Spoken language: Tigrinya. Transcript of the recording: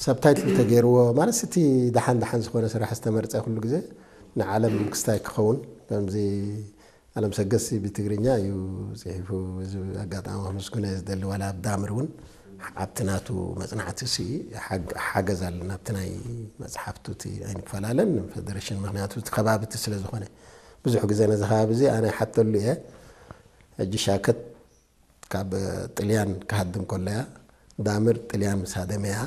ሳብታይትል ተገይርዎ ማለት እቲ ደሓን ደሓን ዝኾነ ስራሕ ዝተመርፀ ኩሉ ግዜ ንዓለም ክስታይ ክኸውን ከምዚ ኣለም ሰገድሲ ብትግርኛ እዩ ፅሒፉ። እዚ ኣጋጣሚ ክምስግኖ እየ ዝደሊ። ዋላ ኣብ ዳምር እውን ኣብቲ ናቱ መፅናዕቲ ሲ ሓገዝ ኣለና። ኣብቲ ናይ መፅሓፍቱ እቲ ኣይንፈላለን ፌደሬሽን፣ ምክንያቱ እቲ ከባቢ እቲ ስለ ዝኾነ ብዙሕ ግዜ ነዚ ከባቢ እዚ ኣነ ይሓተሉ እየ። ሕጂ ሻከት ካብ ጥልያን ክሃድም ከሎ እያ። ዳምር ጥልያን ምስ ሃደመ እያ።